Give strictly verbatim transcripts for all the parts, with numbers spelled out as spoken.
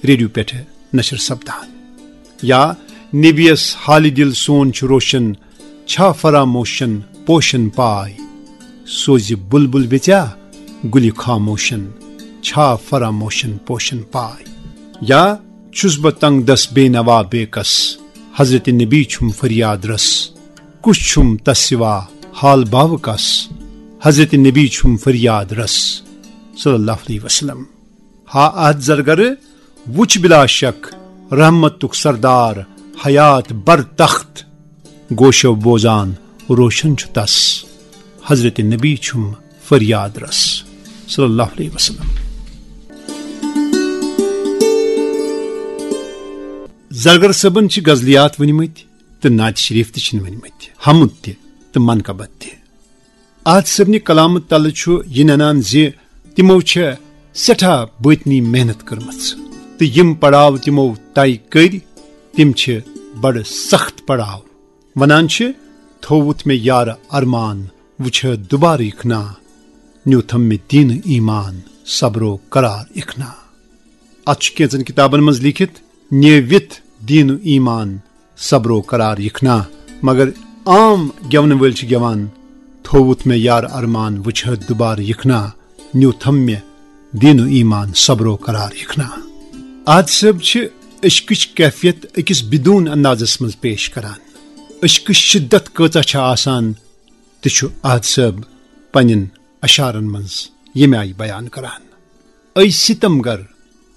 Radio پٮ۪ٹھ نشر سپدان۔ یا نبیس حالِ دِل سون چھُ روشن، چھا فراموشن پوشن پاے؟ سوزِ بلبل بیژیا گُلہِ خاموشن، چھا فراموشن پوشن پاے؟ یا چھُس بہٕ تنگ دس بے نوا بے کس، حضرت نبی چھُم فریاد رس، کُس چھُم تس سوا حال باوٕ کس؟ حضرت نبی چھُم فریاد رس، صلی اللہ علیہ وسلم۔ ہا عہد زرگر، وُچھ بلا شک رحمتُک سردار، حیات بر تخت، گوشو بوزان روشن چھُ تس، حضرت نبی چھُم فریاد رس، صلی اللہ علیہ وسلم۔ زرگر صٲبن چھِ غزلیات ؤنمٕتۍ تہٕ نعت شریف تہِ چھِن ؤنمٕتۍ، حمد تہِ تہٕ منقبت تہِ۔ عہد صٲبنہِ کلامہٕ تلہٕ چھُ یہِ ننان زِ تِمو چھےٚ سٮ۪ٹھاہ بٲطنی محنت کٔرمٕژ، تہٕ یِم پڑاو تِمو طے کٔرۍ، تِم چھِ بڑٕ سخت پڑاو۔ ونان چھِ، تھووُتھ مےٚ یارٕ ارمان، وٕچھِ دوبارٕ یِکھ نا، نیوٗتھم مےٚ دیٖنہٕ ایمان، صبرو قرار یِکھ نا۔ اتھ چھُ کینٛژن کتابن منٛز لیکھِتھ، نیوِتھ دیٖنہٕ ایمان، صبرو قرار یِکھ نا۔ مگر عام گٮ۪ونہٕ وٲلۍ چھِ گٮ۪وان، تھووُتھ مےٚ یارٕ ارمان، وٕچھِ دوبارٕ یِکھ نا، نیوٗتھم مےٚ دیٖنہٕ ایمان، صبرو قرار یِکھ نا۔ عہد صٲب چھِ عشقٕچ کیفیت أکِس بدون اندازس منٛز پیش کران۔ عشقٕچ شدت کۭژاہ چھےٚ آسان، تہِ چھُ عہد صٲب پننٮ۪ن اشعارن منٛز ییٚمہِ آیہِ بیان کران۔ اے ستم گر،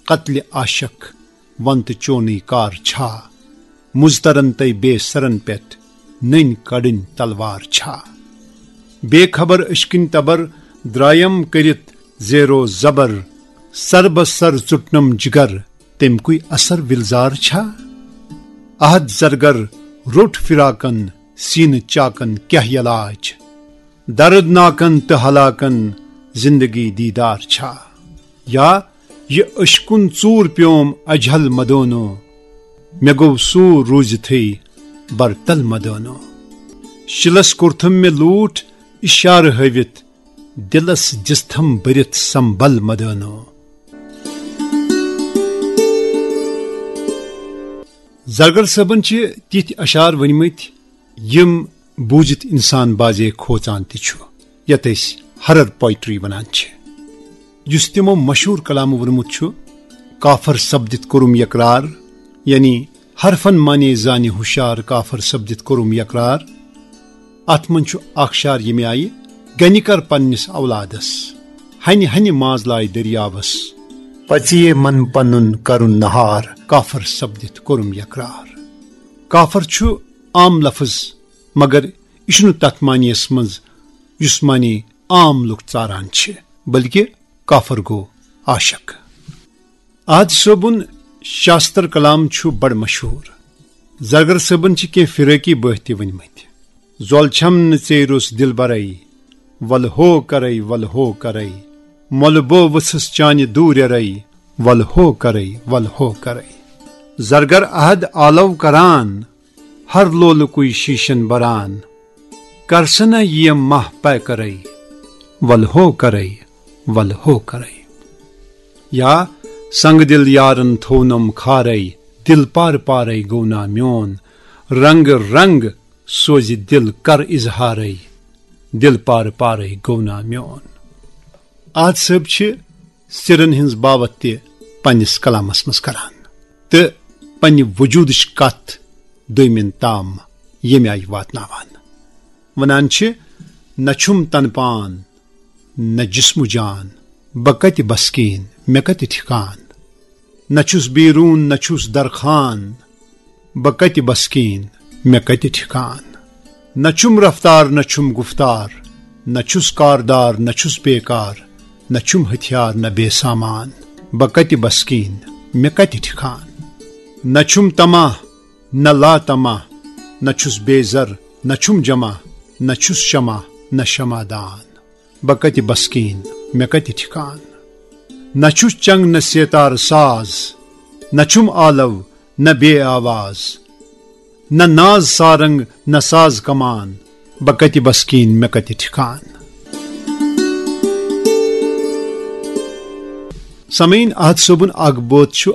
قتلِ عاشق، ون تہٕ چونٕے کار چھا؟ مضطرن تہٕ بے سرن پٮ۪ٹھ نٔنۍ کڑٕنۍ تلوار چھا؟ بے خبر عشقٕنۍ تبر، درایم کٔرِتھ زیرو زبر، سر بہ سر ژُٹنم جگر، تمکُے اثر وِلزار چھا؟ عہد زرگر روٚٹ فراقن، سینہٕ چاکن کیاہ علاج؟ دردناکن تہٕ ہلاکن زندگی دیدار چھا؟ یا یہِ عشقُن ژوٗر پیوم اجہل مدونو، مےٚ گوٚو سوٗر روٗزِتھٕے برتل مدونو۔ شِلس کوٚرتھم مےٚ لوٗٹھ اشارٕ ہٲوِتھ، دِلس دِژتھم بٔرِتھ سمبل مدونو۔ زرگر صٲبن چھِ تِتھۍ اشعار ؤنمٕتۍ، یِم بوٗزِتھ اِنسان بازے کھوژان تہِ چھُ، یَتھ أسۍ ہرر پوئٹری وَنان چھِ۔ یُس تِمو مشہوٗر کلام ووٚنمُت چھُ، کافر سپدِتھ کوٚرُم یقرار، یعنی حرفن معنی زانہِ ہُشار، کافر سپدِتھ کوٚرُم یقرار۔ اَتھ منٛز چھُ اکھ شعر ییٚمہِ آیہِ، گنہِ کر پننِس اولادس، ہنہِ ہنہِ ماز لاے دٔریاوس، پژیے من پنُن کرُن نہار، کافر سپدِتھ کوٚرُم یقرار۔ کافر چھُ عام لفظ، مگر یہِ چھُنہٕ تتھ معنیَس منٛز یُس معنی عام لُکھ ژاران چھِ، بلکہِ کافر گوٚو عاشق۔ عہد صٲبُن شاستر کلام چھُ بڑٕ مشہوٗر۔ زرگر صٲبن چھِ کینٛہہ فِرٲقی بٲتھ تہِ ؤنمٕتۍ۔ زۄل چھَم نہٕ ژیٖرُس دِلبرے، ول ہو کرے، ول ہو کرے۔ مۄلہٕ بو ؤژھٕس چانہِ دوٗرٮ۪رے، ول ہو کرے، ول ہو کرے۔ زرگر عہد آلو کران، ہر لولہٕ کُے شیٖشن بران۔ کر سا نہ یِم ماہ پے کرے، ول ہو کرے، ول ہو کرے۔ یا سنگ دِل یارن تھوونم کھارے، دِل پار پارے گوٚو نا میون۔ رنگ رنگ سوزِ دِل کر اظہارے، دِل پار پارے گوٚو نا میون۔ عہد صٲب چھِ سِرن ہٕنٛز باوتھ تہِ پننِس کلامس منٛز کران تہٕ پننہِ وجوٗدٕچ کتھ دوٚیمٮ۪ن تام ییٚمہِ آیہِ واتناوان۔ ونان چھِ، نہ چھُم تن پان، نہ جسم جان، بہٕ کتہِ بسکیٖن، مےٚ کتہِ ٹھِکان؟ نہ چھُس بیروٗن، نہ چھُس درخان، بہٕ کتہِ بسکیٖن، مےٚ کتہِ ٹھِکان؟ نہ چھُم رفتار، نہ چھُم گفتار، نہ چھُس کاردار، نہ چھُس بیکار، نہ چھُم ہتھیار، نہ بے سامان، بہٕ کتہِ بسکیٖن، مےٚ کتہِ ٹھِکان؟ نہ چھُم طمع، نہ لا طمع، نہ چھُس بے زر، نہ چھُم جمع، نہ چھُس شمع، نہ شمع دان۔ بہٕ کتہِ بسکیٖن، مےٚ کتہِ ٹھِکان؟ نہ چھُس چنگ، نہ سیتار ساز، نہ چھُم آلو، نہ بے آواز، نہ ناز سارنگ، نہ ساز کمان، بہٕ کتہِ بسکیٖن، مےٚ کتہِ ٹھِکان؟ سامعیٖن، عہد صٲبُن اکھ بٲتھ چھُ